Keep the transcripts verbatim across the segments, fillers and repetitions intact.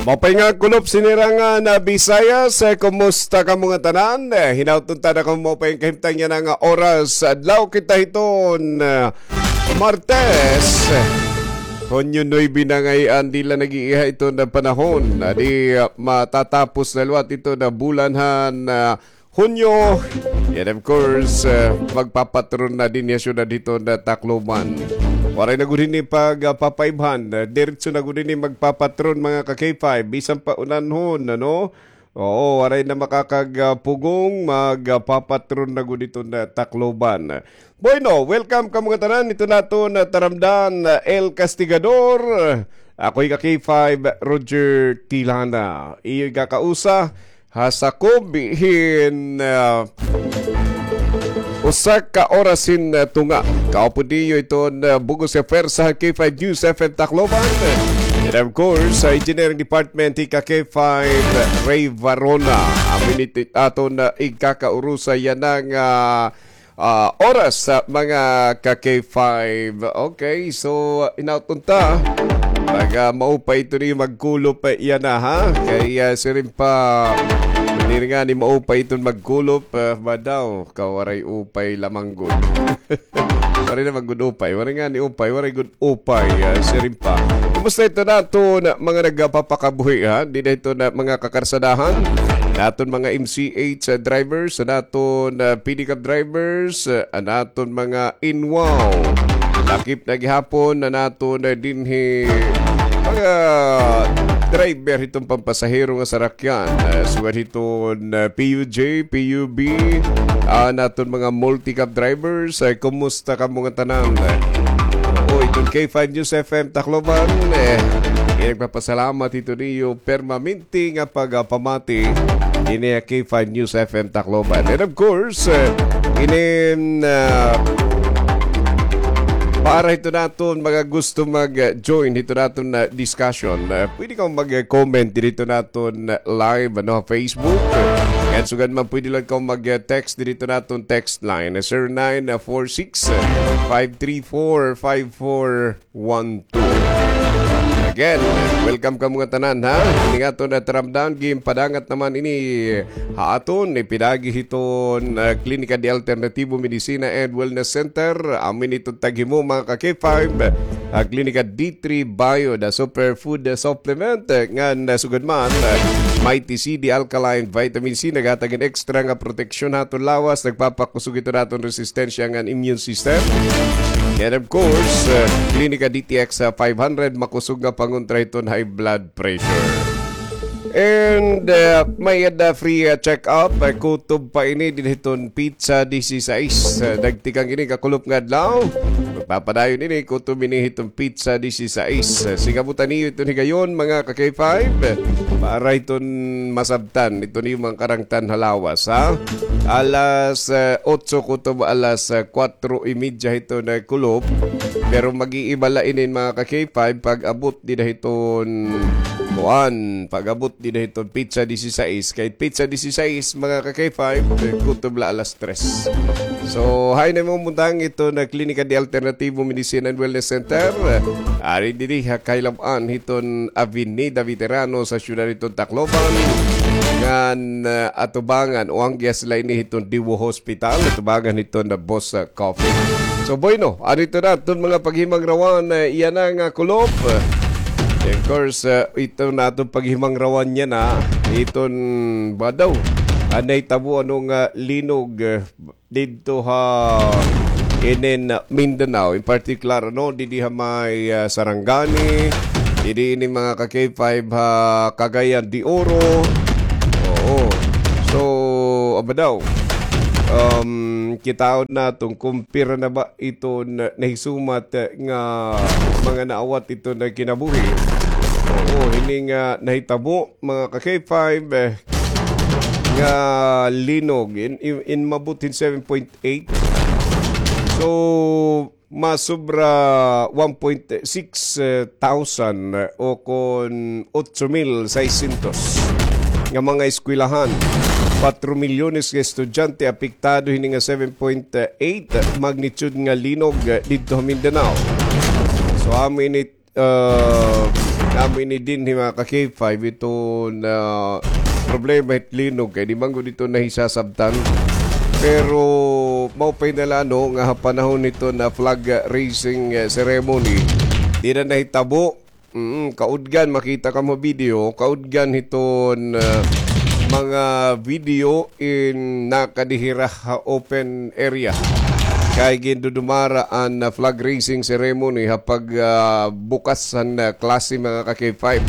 Maupay nga kulop sinirangan na Bisayas, eh, kumusta kamo ngatanan? Eh, hinaot unta na kamo maupay nga kahimtang yana nga oras. Adlaw kita hiton, eh, Martes. Hunyo nuebe na ngay-an, diri la nag-iiha iton panahon. Adi, ah, matatapos na liwat iton bulan han, ah, Hunyo. And of course, uh, magpapatron na dinhi ha syudad hiton Tacloban. Waray na gud hini pagpapaibhan. Uh, diretso na gud hini magpapatron, mga ka K five. Bisan pa unanhon, ano? Oo, waray na makakagpugong, magpapatron na gud hiton Tacloban. Bueno, welcome kamo ngatanan. Ito naton, uh, taramdan, uh, El Castigador. Ako hi ka K five, Roger Tilana. Iyo kakausa, ha sakob hin, ah, usa ka oras hin, ah, tunga. Kaupod niyo iton, ah, bug-os nga pwersa ha K five News F M Tacloban. And of course, sa Engineering Department, hi ka K five Ray Varona. Amo ini it aton, ah, igkakaurusa yana nga, ah, ah, oras, ah, mga ka K five. Okay, so, ah, hinaot unta. Pag, ah, maupay ito niyo magkulop, ah, yana, ha? Kay, ah, siring pa, diri ngani maupay iton magkulop, ah, ba daw, kawaray upay lamang gud. Waray na man gud upay, waray ngani upay, waray gud upay, ah, siring pa. Kumusta ito naton mga nagpapakabuhi, ha? Dida hiton mga kakarsadahan, naton mga M C H, ah, drivers, naton, ah, pedicab drivers, ah, naton mga inwaw. Lakip na gihapon na naton, ah, dinhi mga driver hiton pampasahero nga sarakyan. Ah, sugad hiton, ah, P U J, P U B, ah, naton mga multicab drivers. Ah, kumusta kamo ngatanan? Oo, iton K five News F M Tacloban, eh, nagpapasalamat hito niyo permanente nga pagpamati dinhi ha K five News F M Tacloban. And of course, eh, inin, ah, para hito naton mga gusto mag-join hito naton, ah, discussion, ah, pwede kaw mag-comment dito naton, ah, live, ano, ha Facebook. Ngan sugad man, pwede lang kaw mag-text dito naton text line, ah, zero nine four six, five three four, five four one two. Again, welcome kamo ngatanan, ha. Ini nga aton taramdan, ginpadangat naman ini ha aton ipinagi hiton, ah, Klinika de Alternativo Medicina and Wellness Center. Amo ini iton taghimo, mga ka K five, ah, Klinika D three Bio, the superfood, ah, supplement, ah, ngan, ah, sugad man, ah, Mighty C D Alkaline Vitamin C, naghatag hin extra nga proteksyon ha aton lawas, nagpapakusog ito naton resistensya ngan immune system. And of course, uh, Klinika D T X, uh, five hundred, makusog nga pangontra hiton high blood pressure. And, uh, may-ada free, uh, check-up, uh, kutob pa ini dinhi hiton Pizza dieciséis. Uh, nagtikang ini kakulop nga adlaw. Magpapadayon ini, kutob ini hiton Pizza dieciséis. Uh, singabutan niyo iton higayon, mga ka K five. Para hiton masabtan, iton iyo mga karangtan ha lawas, ha? Alas, eh, otso kutob alas, eh, kuwatro y medya hiton kulop. Pero mag-iiba la inin, mga ka K five, pag-abot dida hiton, kuan, pag-abot dida hiton Pizza dieciséis. Kay Pizza dieciséis, mga ka K five, eh, kutob la alas tres. So, hain na imo mabutang iton Klinika de Alternativo Medicine and Wellness Center. Ari didi ha kailab-an hiton Avenida Veterano sa siyudad hiton Tacloban. Ngan, ah, atubangan o anggias la ini hiton Diwo Hospital, atubangan hiton na Boss, ah, Coffee. So, bueno, ari ito na aton mga paghimangrawan, ah, yana nga kulop. Of course, ah, ito na aton paghimangrawan yana, iton badaw. Anay tabo ano nga linog, ah, didto ha inin Mindanao, in particular, ano, didi ha may, ah, Sarangani, didi ini mga ka K five ha Cagayan de Oro. Oo. So, aba daw, um, kitaon naton kon pira na ba iton na-, nahisumat, eh, nga mga naawat iton kinabuhi. Oo, ini nga nahitabo, mga ka K five, eh, nga linog in, in, in mabot hin seven point eight. So, masobra one point six thousand, eh, o kon otso mil seiscientos nga mga eskwelahan. Kwatro milyones nga estudyante apektado hini nga seven point eight magnitude nga linog, eh, didto ha Mindanao. So, amo ini ah, nga Amo ini dinhi, mga ka-K five, iton problema hit linog kay di man gud ito nahisasabtan. Pero mao pa ini la, no, nga ha panahon hiton flag raising, eh, ceremony, di na nahitabo. Mm, kaudgan, makita kamo video, kaudgan hiton, ah, mga video in nakadihira ha open area. Kay gindudumara an, ah, flag raising ceremony ha pag, ah, bukas han, ah, klase, mga ka-K five.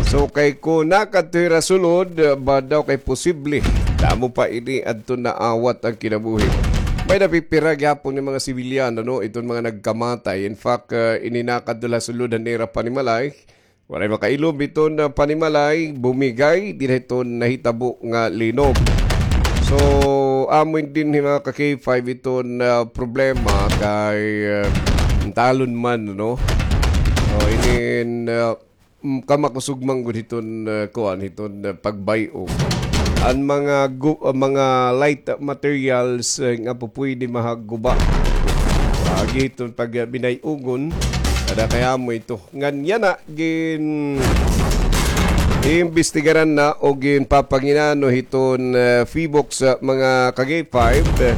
So, kay kon nakadto hira sulod, ah, ba daw kay posible damo pa ini adto naawat an kinabuhi. May napipira gihapon nga mga sibilyan, ano, iton mga nagkamatay. In fact, ah, ini nakadto la sulod han ira panimalay. Walay makailom iton, ah, panimalay, bumigay dinhi hiton nahitabo nga linog. So, amo ini dinhi, mga ka-K five, iton, ah, problema kay, ah, talon man, no? So, inin, ah, mm, kamakusog man gud hiton, ah, kuan, hiton, ah, pagbay-og. An mga gu-, ah, mga light materials, eh, nga pupwede mahaguba. Agi hiton pag, ah, binay-ogon, kada kay amo ito. Ngan yana gin-iimbestigaran na o ginpapanginano hiton, eh, PHIVOLCS, ah, mga ka-K five, eh,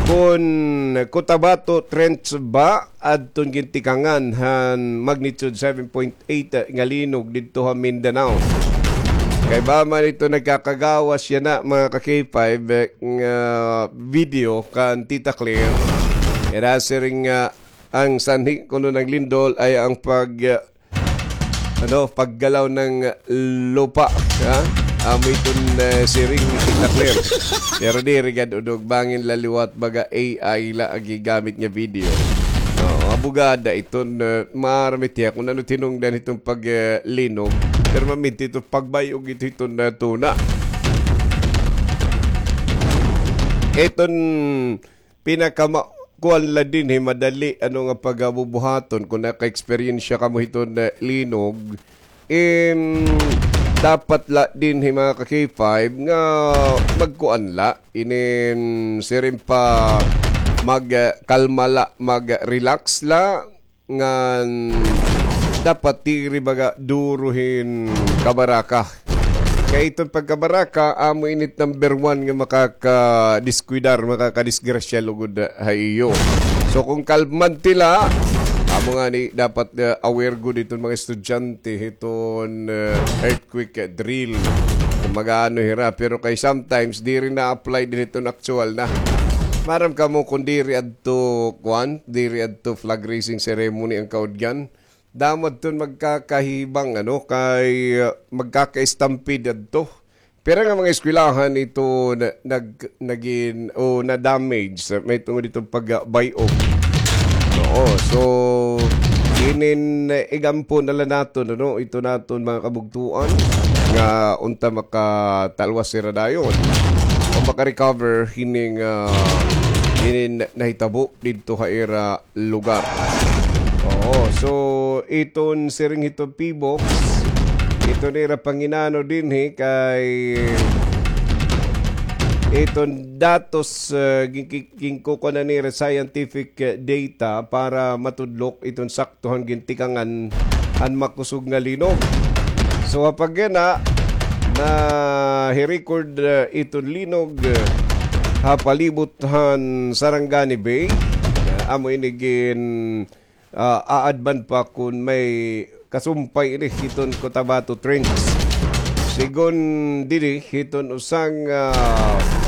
kon Cotabato Trench ba adton gintikangan han magnitude seven point eight nga linog didto ha Mindanao. Kay ba man ito nagkakagawas yana, mga ka-K five, eh, nga video kan Tita Claire. Ira siring nga an sanhi kuno han lindol ay an pag, eh, ano, paggalaw han lupa, ha? Amo iton, eh, siring ni Tita Claire. Pero diri gad, unod bangin la liwat, baga A I la an gigamit nga video. Oo, abugada iton, eh, maaram it hiya kon ano it hinungdan hiton pag, eh, linog. Pero maminti iton pagbay-og ito hiton, eh, tuna. Iton pinakama-, kuan la dinhi, madali, ano, nga pagabubuhaton, kon naka-eksperyensya kamo hiton, eh, linog, im, dapat la dinhi, mga ka-K five, nga magkuan la, inin siring pa, mag, eh, kalma la, mag-relax la, ngan dapat diri baga duro hin kabaraka. Kay iton pagkabaraka, amo ini it number one nga makakadiskwidar, makakadisgrasya lugod ha iyo. So, kon kalmante la, amo ngani dapat, eh, aware gud iton mga estudyante hiton, eh, earthquake drill. Kon mag-aano hira, pero kay sometimes diri na-apply dinhi hiton aktuwal na. Maaram kamo kon diri adto, kuan, diri adto flag raising ceremony an kaudgan. Damo adton magkakahibang, ano, kay, uh, magkaka-stampede adto. Pira nga mga eskwelahan ito na, nag-, nagin, o na-damage, uh, mahitungod hiton pag, uh, bay-og. Oo, so, inin, uh, igampo na la naton, ano, ito naton mga kabugtuan nga unta makatalwas hira dayon o maka-recover hining, uh, hinin nahitabo didto ha ira lugar. Oo, so iton siring hiton PHIVOLCS, iton ira panginano dinhi kay iton datos, uh, gin-, gin-, ginkukuan na nira scientific, uh, data para matudlok iton sakto han gintikangan han makusog nga linog. So, ha pagkana, nahi-record, uh, iton linog, uh, ha palibot han Sarangani Bay. Uh, amo ini gin, uh, aadman pa kon may kasumpay ini hiton Cotabato Trench. Sigon diri hiton usa nga,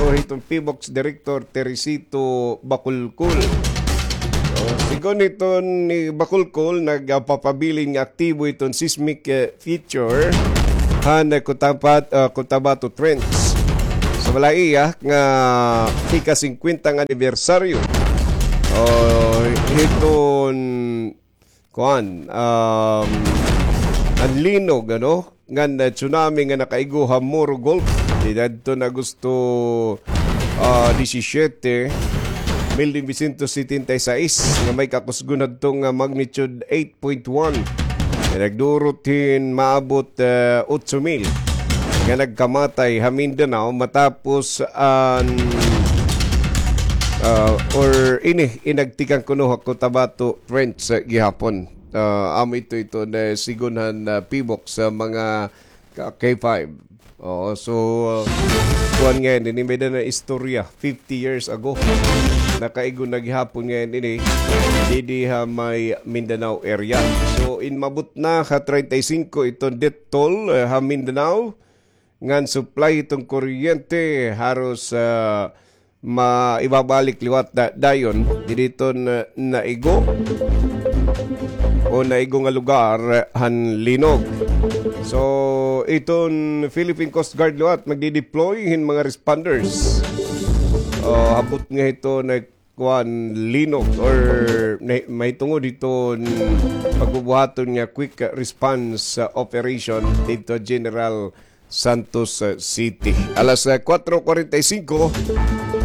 o hiton PHIVOLCS Director Teresito Bacolcol. O, sigon hiton ni Bacolcol, nagpapabilin nga aktibo iton seismic, eh, feature han Cotabat-, ah, Cotabato Trench. Sa balay iya nga ika-singkwenta nga anibersaryo, o, hiton, kuan, um, an linog, ano, ngan, ah, tsunami nga nakaigo ha Moro Gulf, didto na Agosto, ah, disisyete, mil novecientos setenta y seis, nga may kakusgon hadto nga magnitude eight point one. Nga nagdurot hin maabot, ah, otso mil nga nagkamatay ha Mindanao matapos an, ah, or ini, inagtikang kuno ha Cotabato Trench, ah, gihapon. Ah, amo ito, ito na sigon han, ah, PHIVOLCS sa mga ka-, K five. Oo, so, ah, kuwan ngayon, ini may da na istorya, fifty years ago. Nakaigo na gihapon ngayon ini, didi ha may Mindanao area. So, inmabot na ha treinta y cinco iton death toll, eh, ha Mindanao. Ngan supply iton kuryente, haros, ah, maibabalik liwat da-, dayon, didi iton, ah, naigo o naigo nga lugar han linog. So, iton Philippine Coast Guard liwat magdi-deploy hin mga responders. Oh, abot nga hito na kuan, linog or na-, mahitungod hiton pagbubuhaton nga quick response, ah, operation didto General Santos, ah, City. Alas, ah, kuwatro kuwarenta y singko,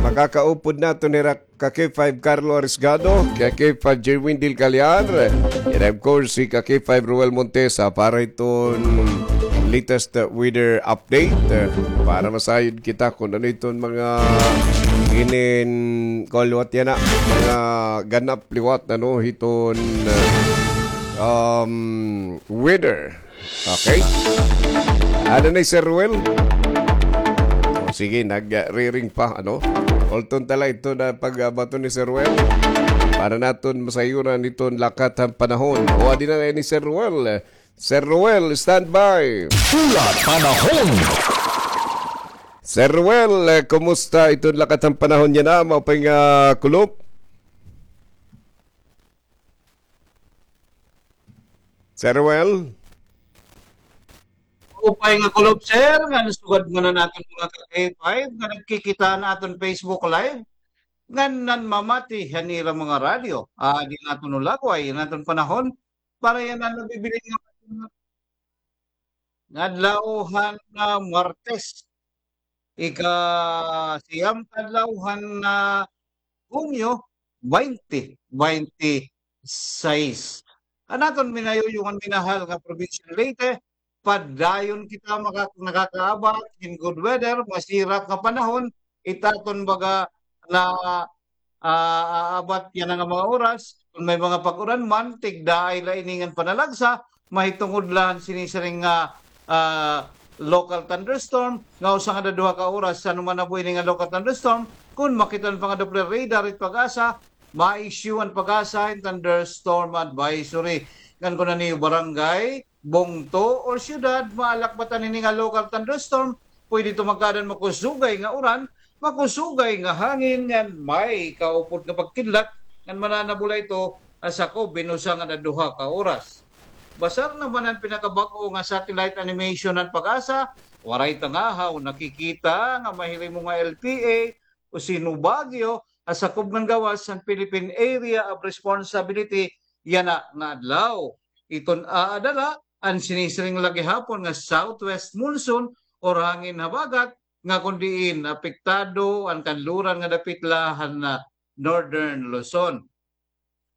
makakaupod naton hira ka K five Carlo Arisgado, ka K five Jerwin Del Callar, and of course, si ka K five Roel Montesa para hiton latest, ah, weather update, ah, para masayod kita kon ano iton mga inin, kuan liwat yana, mga ganap liwat, ano, hiton, ah, um, weather. Okay. Ada na hi Sir Ruel? O, sige, nag-, ah, riring pa, ano? Ulton ta la ito na pag-abaton ni Sir Ruel. Para naton masayuran iton lakat han panahon. O, adi na ni Sir Ruel. Sir Ruel, standby. Hulat panahon. Sir Ruel, eh, kumusta iton lakat han panahon yana? Maupay nga kulop? Sir Ruel? Maupay nga kulop, sir, ngan sugad man han aton mga ka-K five nga nagkikita han aton Facebook Live, ngan nanmamati han ira mga radyo. Ah, di naton ulagway an aton panahon para yana nabibilin nga nga adlaw han, ah, Martes. Ika-siyam ka adlaw han, ah, Hunyo, baynte baynte sais. An aton minayuyuhan minahal nga probinsya han Leyte, padayon kita maka-, nakakaabat hin good weather, masirak nga panahon, it aton baga na, ah, aabat yana nga mga oras. Kon may mga pag-uran man, tigdaay la ini ngan panalagsa, mahitungod la han sini siring nga, ah, local thunderstorm, nga usa ngada duha ka oras, san-o man nabo ini nga local thunderstorm, kon makita pa nga Doppler radar it PAGASA, ma-issue an PAGASA hin thunderstorm advisory. Ngan kon an iyo barangay, bungto, or syudad, maalakbatan ini nga local thunderstorm, pwede ito magkaada hin makusugay nga uran, makusugay nga hangin, ngan may kaupod nga pagkidlat, ngan mananabo la ito ha sakob hin usa ngada duha ka oras. Basar naman an pinakabag-o nga satellite animation han PAGASA, waray tangahaw nakikita nga mahirimo nga L P A o Sino Baguio ha sakob ngan gawas han Philippine Area of Responsibility yana nga adlaw. Iton aada la an sinisiring la gihapon nga southwest monsoon or hangin habagat nga kon diin apektado an kanluran nga dapit la han, ah, Northern Luzon.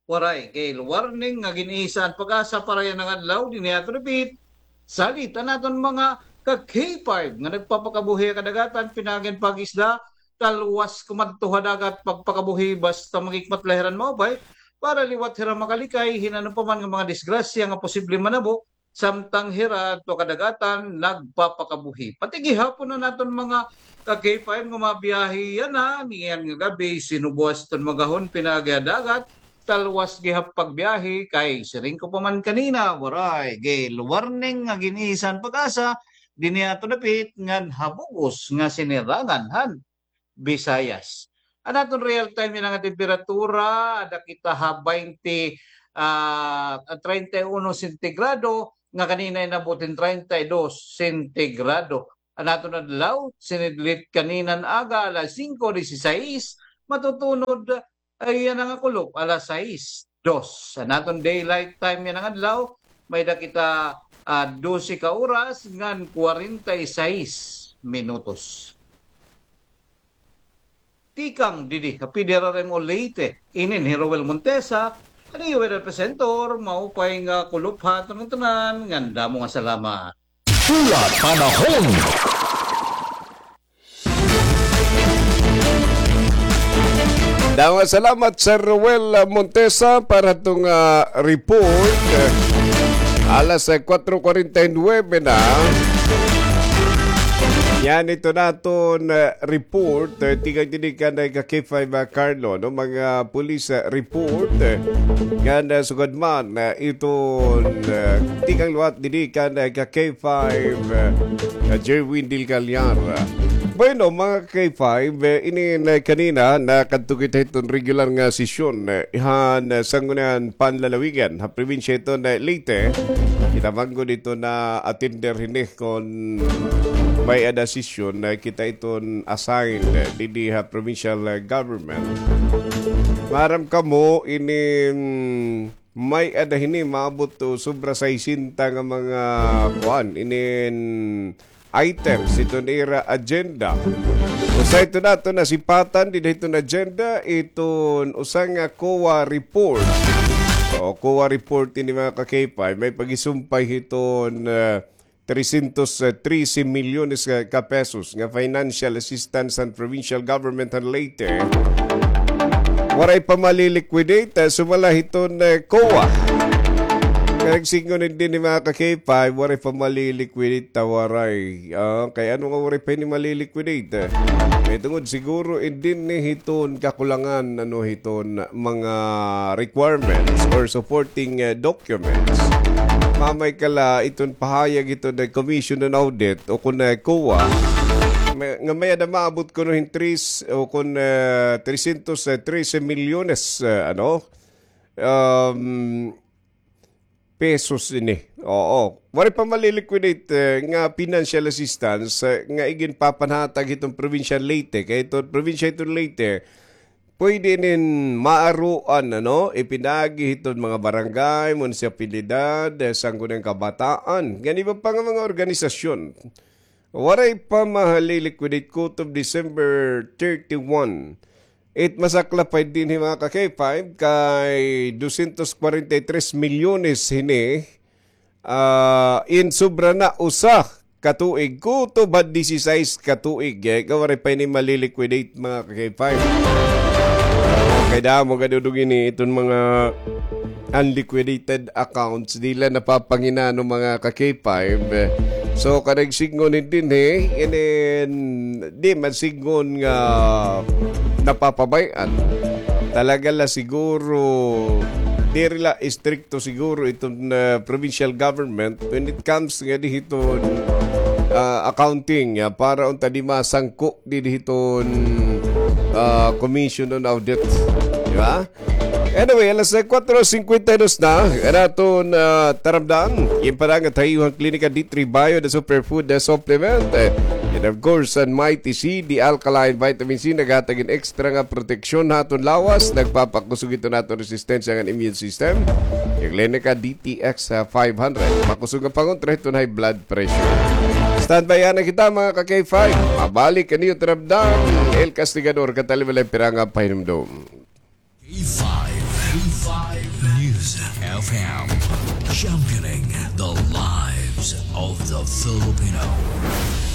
Waray gale warning nga gin-isa an PAGASA para yana nga adlaw. Dinhi aton repeat, salit an aton mga ka-K five nga nagpapakabuhi ha kadagatan, pinaagi han pag-isda, talwas kumadto ha dagat pagpakabuhi basta maghikmat la hira hin maupay para liwat hira makalikay hin ano pa man nga mga disgrasya nga posible manabo samtang hira adto ha kadagatan nagpapakabuhi. Pati gihapon an aton mga ka-K five nga mabiyahe yana niyan nga gab-i, sinubuas iton magahon pinaagi ha dagat, talwas gihap pagbiyahe kay siring ko pa man kanina, waray gale warning nga gin-isa han PAGASA dinhi aton dapit ngan ha bug-os nga sinirangan han Visayas. An aton real time yana nga temperatura, ada kita ha baynte, ah, treinta y uno sentigrado, nga kanina inabot hin treinta y dos sentigrado. An aton adlaw, sinidlit kaninan aga, alas singko disisais, matutunod, ay, yana nga kulop, alas sais dos. An aton daylight time yana nga adlaw, may-ada kita, ah, dose ka oras ngan kwarenta y sais minutos. Tikang didi ha P D R R M O Leyte, inin hi Roel Montesa, an iyo weather presenter, maupay nga kulop ha aton ngatanan, ngan damo nga salamat. Hulat panahon. Damo nga salamat, Sir Ruel, ah, Montesa, para hito nga, ah, report. Alas, ah, kwatro kwarenta y nuwebe na. Yana iton aton, ah, report, ah, tikang dinhi kan, ah, ka K five, ah, Carlo, no? Mga police, ah, report, ah, ngan, ah, sugad man, ah, iton, ah, tikang liwat dinhi kan, ah, ka K five, ah, ah, Jerwin Del Callar. Bueno, mga K five, eh, ini na kanina, nakadto kita hiton regular nga sesyon, eh, han, eh, Sangguniang Panlalawigan ha probinsya hiton, eh, Leyte. Kita man gud hiton na-attender hini kon may-ada sesyon, eh, kita hiton assigned, eh, didi ha provincial, eh, government. Maaram kamo, ini, mm, may-ada hini maabot to sobra saysenta nga mga kuan, inin items hiton ira agenda. Usa hiton aton nasipatan dida hiton agenda, iton usa nga COA report. O, COA report ini, mga ka-K five, may paghisumpay hiton, ah, trescientos trece milyones ka, ka pesos nga financial assistance han provincial government han Leyte. Waray pa mali-liquidate, ah, sumala hiton, eh, COA. Kay sidngon dinhi, mga ka-K five, waray pa mali-liquidate ta waray. Ah, kay ano nga waray pa ini mali-liquidate, eh? Kay tungod siguro dinhi hiton kakulangan, ano, hiton mga requirements or supporting, eh, documents. Mamay kala iton pahayag hiton, eh, Commission on Audit o kon, eh, COA, may, nga may-ada maabot kuno hin tres o kon, eh, trescientos trece milyones, eh, ano, um, pesos ini. Oo. Waray pa mali-liquidate, eh, nga financial assistance, eh, nga iginpapanhatag hiton probinsya Leyte. Kay hiton probinsya hiton Leyte, pwede inin maaruan, ano, ipinagi hiton mga barangay, munisipalidad, eh, Sangguniang Kabataan, ngan iba pa nga mga organisasyon. Waray pa mali-liquidate kutob December thirty-one. It masaklap pa dinhi, mga ka-K five, kay dosyentos kwarenta y tres milyones hini, ah, in sobra na usa ka tuig, kutob ha disisais ka tuig, eh, nga waray pa ini mali-liquidate, mga ka-K five. Kay damo gad dudog ini iton mga unliquidated accounts, diri la napapanginano, mga ka-K five. So, kanay sidngon dinhi, inin, di man sidngon nga napapabay-an. Talaga la siguro, diri la istrikto siguro iton, ah, provincial government when it comes nga dinhi hiton, ah, accounting, ah, para unta di masangko dinhi hiton, ah, Commission on Audit. Di ba? Anyway, alas kwatro singkwenta y dos na, an aton, ah, taramdan. Ginpadangat ha iyo han Klinika D three Bio, the superfood, the supplement. And of course, an Mighty C, the alkaline vitamin C, naghatag hin extra nga proteksyon ha aton lawas, nagpapakusog hiton aton resistensya ngan immune system. An Klinika D T X five hundred, makusog nga pangontra hiton high blood pressure. Standby na kita, mga ka-K five. Mabalik an iyo taramdan, El Castigador, katalibala hin pira nga pahinumdom. K five, K five News F M, championing the lives of the Filipino.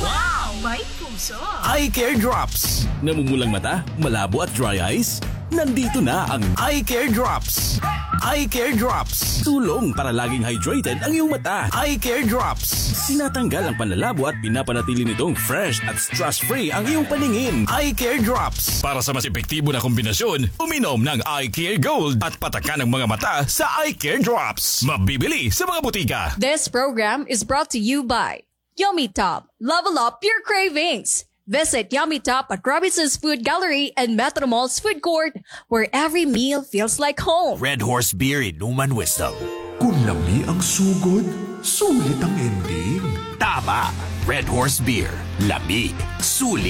Wow! May puso! Eye Care Drops. Namumulang mata, malabo at dry eyes? Nandito na ang Eye Care Drops. Eye Care Drops. Tulong para laging hydrated ang iyong mata. Eye Care Drops. Tinatanggal ang panlalabo at pinapanatili nitong fresh at stress-free ang iyong paningin. Eye Care Drops. Para sa mas epektibo na kombinasyon, uminom ng Eye Care Gold at patakan ang mga mata sa Eye Care Drops. Mabibili sa mga butika. This program is brought to you by Yummy Top. Level up your cravings. Visit Yummy Top at Robinson's Food Gallery and Metro Mall's Food Court, where every meal feels like home. Red Horse Beer, inuman wisdom. Kun lami ang sugod, sulit ang ending. Tama! Red Horse Beer. Lami. Sulit.